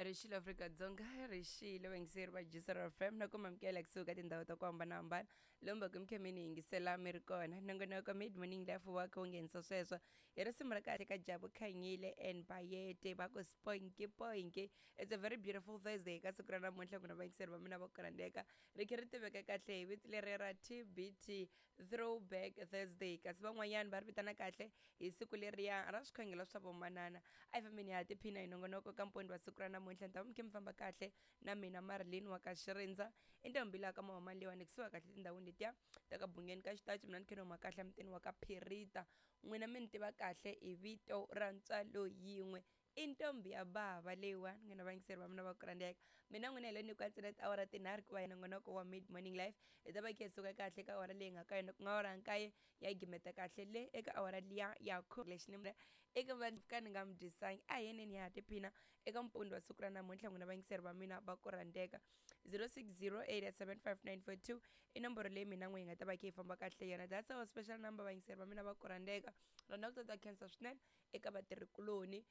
Rixile Afrika-Dzonga, rixile vayingiseri va Jisara FM na ku mamukela kusuka tindhawu ta ku hambanahambana lomu va ku mi kha mi ni yingisela mi ri kona. Nongonoko Mid Morning Life wa kha wu nghenisa sweswo hi risimu ra kahle ka Jabu Khanyile and Bayete va ku Sponky Poinky. It's a very beautiful Thursday ka siku ra namuntlha ku na vayingiseri va mina va ku rhandzeka ri kha ri tiveka kahle hi vito leri ra TBT Throwback Thursday kasi van'wanyana va ri vitana kahle hi siku leriya ra swikhongelo swa vomanana. A hi fambeni hi ya tiphina hi nongonoko ka mpondi wa siku ra namuntlha. Ni ta va mi kha mi famba kahle na mina Marilyn wa ka Xirindza i ntombi laha ka Mahomani leyiwani kusuhi kahle tindhawini letiya ta ka Bungeni ka Xitachi. Mina ni kha ni huma kahle emutini wa ka Phirita. N'wina mi ni tiva kahle hi vito ra ntswalo yin'we i ntombi ya bava leyiwani. N'wina vayingiseri va mina va ku rhandzeka, mina n'wina hi le nyikiwa ntsena tiawara tinharhu ku va hi nongonoko wa Mid Morning Life. Hi ta va kha hi suka kahle ka awara leyi nga ka yona, ku nga awara ya nkaye, ya gimeta kahle le eka awara liya ya khume. Lexi ni eka va ka ni nga mi dyisangi, a hi yeneni ya ha tiphina eka mpundi wa siku ra namuntlha. N'wina vayingiseri va mina va ku rhandzeka, 06087594 i nomboro leyi mina n'we hi nga ta va kha hi famba kahle yona. That's our special number, vayingiseri va mina va ku rhandzeka. Rona ku ta khensa swinene eka vatirhikuloni,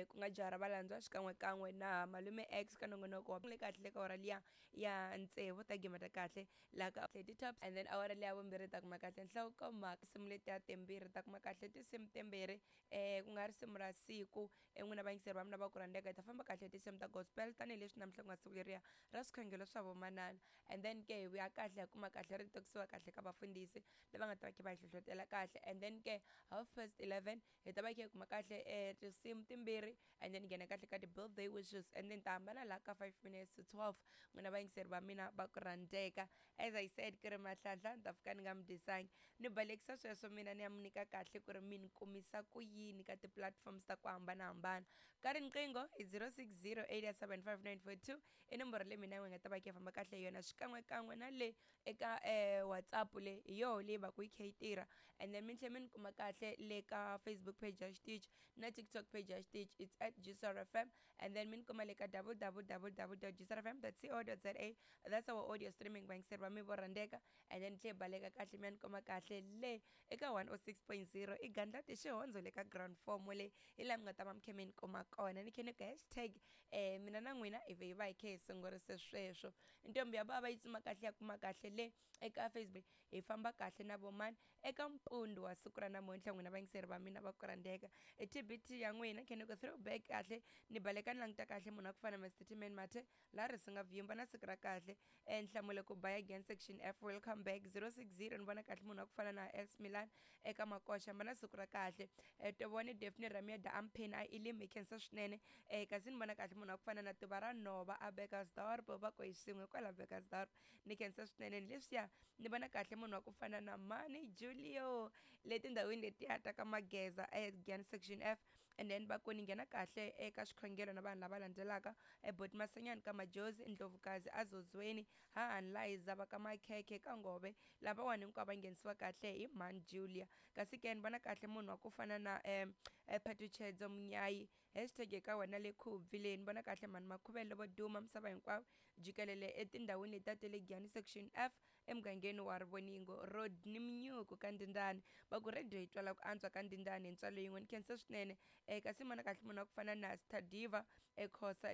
ku nga jaha ra valandzwa xikan'wekan'we na malume X ka nongonoko wa le kahle le ka awara liya ya tsevu ta gimeta kahle laha ka ti-tops, and then awara liya vumbirhi ta kuma kahle nhlokomhaka tinsimu letiya timbirhi ta kuma kahle tinsimu timbirhi, ku nga risimu ra siku. N'wina vayingiseri va mina va ku rhandzeka, hi ta famba kahle tinsimu ta gospel tanihileswi namuntlha ku nga siku leriya ra swikhongelo swa vomanana. And then ke hi vuya kahle hi kuma kahle ri tokisiwa kahle ka vafundhisi lava nga ta va kha va hi hlohlotela kahle. And then ke 11:30 hi ta va hi kha hi kuma kahle tinsimu timbirhi, and then nghena kahle ka ti-birthday wishes, and then ta hambana laha ka 11:55. N'wina vayingiseri va mina va ku rhandzeka, as I said ku ri Mahlanhla ni ta fika ni nga mi dyisangi, ni balekisa sweswo mina ni ya mi nyika kahle ku ri mi ni kumisa ku yini ka ti-platforms ta ku hambanahambana. Ka riqingho hi 06087594 i nomboro leyi mina n'wi nga ta va kha famba kahle hi yona, xikan'wekan'we na le eka WhatsApp le hi yoho leyi va ku yi kha yi tirha. And then mi tlhela mi ni kuma kahle le ka Facebook page ya xitichi na TikTok page ya xitichi, it's at GCRFM. And then mi ni kuma le ka www.gcrfm.co.za, that's our audio streaming, vayingiseri va mi vo rhandzeka. And then tlhe baleka kahle mi ya ni kuma kahle le eka 106.0 i Gandlati Xihondzo le ka ground form le, hi laha mi nga ta va mi kha mi ni kuma kona. Ni khe ni ku hashtag mina na n'wina hi vhe hi va hi kha hi sungurise sweswo. Ntombi ya bava yi tsuma kahle ya kuma kahle le eka Facebook. Hi famba kahle na vomani eka mpundu wa siku ra namuntlha. N'wina vayingiseri va mina va ku rhandzeka, i TBT ya n'wina khe ni ku throwback kahle. Ni baleka ni languta kahle munhu wa ku fana Mr Timan Mathe laha ri singa vyimba na siku ra kahle. Nhlamulo ku buy again section F, welcome back 060. Ni vona kahle munhu wa ku fana na Els Milan eka Makoxa, mba na siku ra kahle. Tovone Daphne Rameda ampheni a ilim, hi khensa swinene. Kasi ni vona kahle munhu wa ku fana na Tuva ra Nhova a Bekkersdorp, va ku hi swin'we kwala Bekkersdorp, ni khensa swinene. Ni leswiya ni vona kahle munhu wa ku fana na Mani Julio le tindhawini letiya ta ka Mageza Giyani section F. And then va ku ni nghena kahle eka xikhongelo na vanhu lava landzelaka, Boti Masanyani ka Majozi, Ndlovukazi Azozweni, Hahani Liza va ka Makhekhe ka Ngove, lavawani hinkwavo va nghenisiwa kahle hi Mani Julia. Kasi ke ni vona kahle munhu wa ku fana na Phatuchedzo Munyayi, hashtag eka wena le Khubvi leyi. Ni vona kahle mhani Makhuvele vo duma misava hinkwayo jikelele etindhawini letiya ta le Giyani section F emugangeni wa Rivoningo Road ni Minyuku ka Ndindani, va ku radio yi twala ku antswa ka Ndindani hi ntswalo yin'we, ni khensa swinene. Kasi ni vona kahle munhu wa ku fana na Stadiva eKhosa.